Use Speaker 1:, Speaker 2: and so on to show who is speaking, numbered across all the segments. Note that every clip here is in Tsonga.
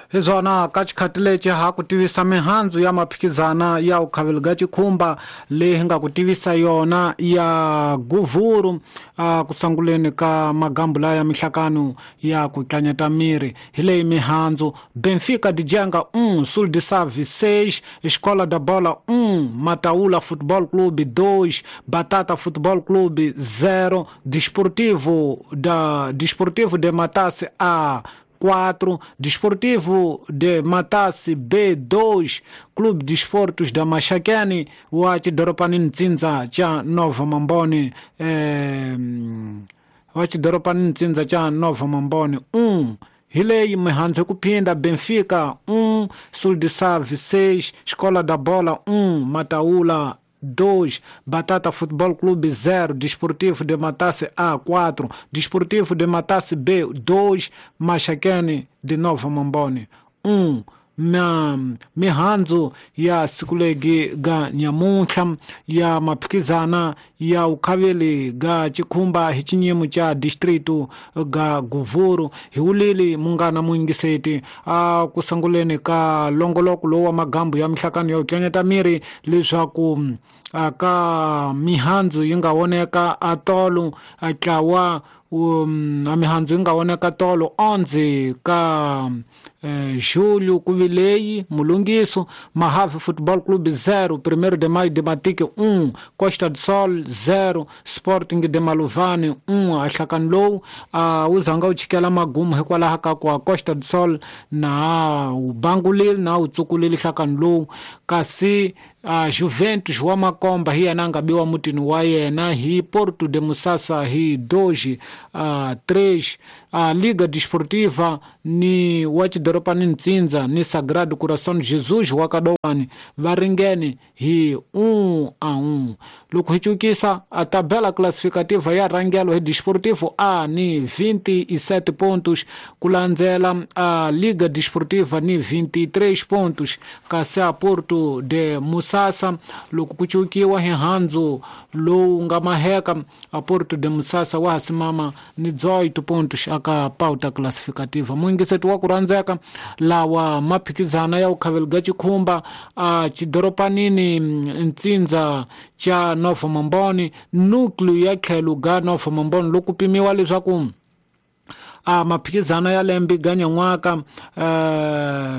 Speaker 1: Hi swona ka xikhati lexi ha ku tivisa mihandzu ya maphikizana ya vukhaveli ga xikhumba leyi hi nga ku tivisa yona ya guvhuru a ku sunguleni ka magambu laya ya mihlakano ya ku tlanyeta miri. Hi leyi mihandzu: Benfica de Janga 1, Sul de Save 6, Escola da Bola 1, Mataula Futebol Clube 2, Batata Futebol Clube 0, Desportivo de Matasse A 4, Desportivo de Matasse B2, Clube de Esportes da Maxaquene wa xidoropanini ntsindza cha Nova Mamboni, wa xidoropanini ntsindza cha Nova Mamboni 1. Hi leyi mihandzu hi ku phinda: Benfica 1, Sul de Save 6, Escola da Bola 1, Mataula 2, Batata Futebol Clube 0, Desportivo de Matasse A 4, Desportivo de Matasse B 2, Maxaquene de Nova Mamboni 1. Mihandzu ya siku legi ga nyamuntlha ya maphikizana ya ukhaveli ga xikhumba hi xinyimo xa distrito ga guvhuru. Hi wulili munghana muyingiseti a ku sunguleni ka longoloko lowu wa magambu ya mihlakano ya ku tlanyeta miri leswaku a ka mihandzu yi nga voneka a tolo a tlawa, a mihandzu yi nga voneka tolo 11 ka julho ku vileyi mulungiso: Mahave Football Club 0, 1 de Maio de Matique 1, Costa do Sol 0, Sporting de Maluvani 1. A nhlakano lowu a wu zanga wu chikela magumu hikwalaho ka ku a Costa do Sol na wu bangulile na wu tsukulile nhlakano lowu, kasi a Juventus wa Makomba hi yena a nga biwa mutini wa yena hi Porto de Musasa hi 2-3. A Liga Desportiva ni wa xidorobani ntsindza ni Sagrado Coração Jesus wa Kadowani va ringene hi 1-1. Loko hi cukisa a tabela classificativa ya rhangelo hi Desportivo A ni 27 pontos, ku landzela a Liga Desportiva ni 23 pontos, kasi a Porto de Musasa loko ku cukiwa hi handzu lowu nga maheka a Porto de Musasa wa ha simama ni 18 pontos aka pauta classificativa. Muyingiseti wa ku rhandzeka, lawa maphikizana ya vukhaveli ga xikhumba a xidoropanini ntsindza cha Nova Mamboni, nucleo ya tlhelo ga Nova Mamboni, loko pimiwa leswaku a maphikizano ya lembe ga nyan'waka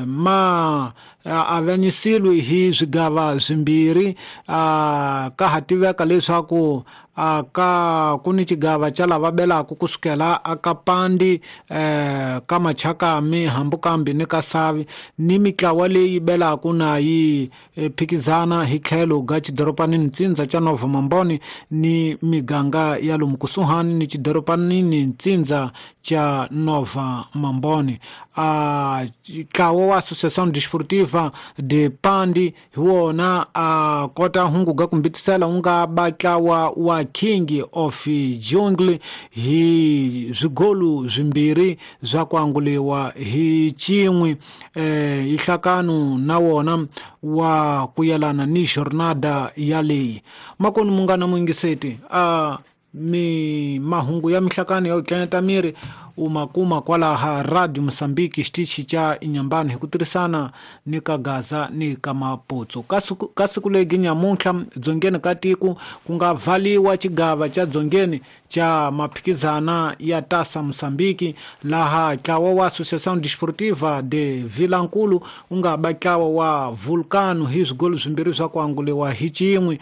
Speaker 1: ma avanyisiwe hi swigava swimbirhi. A ka ha tiveka leswaku a ka ku ni xigava xa lava belaka kusukela aka Pandi, ka Machakami, Hambukambi ni ka Savi, ni mitlawa leyi belaka na yi phikizana hi tlhelo ga xidoropanini ntsindza xa Nova Mamboni ni miganga ya lomu kusuhani ni xidoropanini ntsindza xa Nova Mamboni. A ntlawa wa Associação Desportiva de Pandi hi wona a kota hungu ga kumbitisela wu nga ba ntlawa wa King of Jungle hi swigolu swimbirhi swa ku anguliwa hi xin'we, nhlakano na wona wa ku yelana ni jornada yaleyi. Makoni munghana muyingiseti, a mi mahungu ya mihlakano ya ku tlanyeta miri u ma kuma kwalaha Radio Mosambiki, xitichi xa Inyambani, hi ku tirhisana ni ka Gaza ni ka Maputsu. Ka siku legi nyamuntlha dzongeni ka tiko ku nga vhaliwa xigava xa dzongeni xa maphikizana ya Tasa Mosambiki, laha ntlawa wa Associação Desportiva de Vilankulu wu nga ba ntlawa wa Vulcano hi swigolo swimbirhi swa ku anguliwa hi xin'we.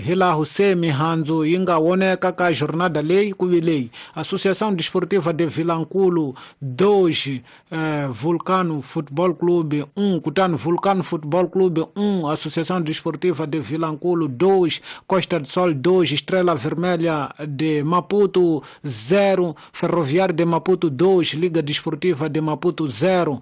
Speaker 1: Hi laha se mihandzu yi nga voneka ka jornada leyi ku vi leyi: Associação Desportiva de Vilankulu 2, Vulcano Football Clube 1, kutani Vulcano Football Clube 1, Associação Desportiva de Vilankulu 2, Costa do Sol 2, Estrela Vermelha de Maputo 0, Ferroviário de Maputo 2, Liga Desportiva de Maputo 0,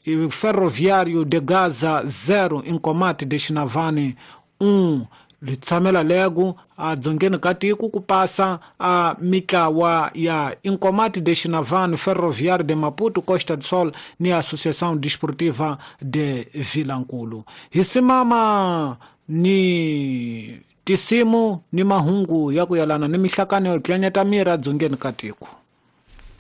Speaker 1: e Ferroviário de Gaza 0, Inkomati de Xinavane 1. Li tshamela lego a dzongeni ka tiko ku pasa a mitlawa ya Inkomati de Xinavane, Ferroviário de Maputo, Costa do Sol ni Associação Desportiva de Vilankulu. Hi simama ni tisimu ni mahungu ya ku yelana ni mihlakano yo tlanyeta miri edzongeni ka tiko.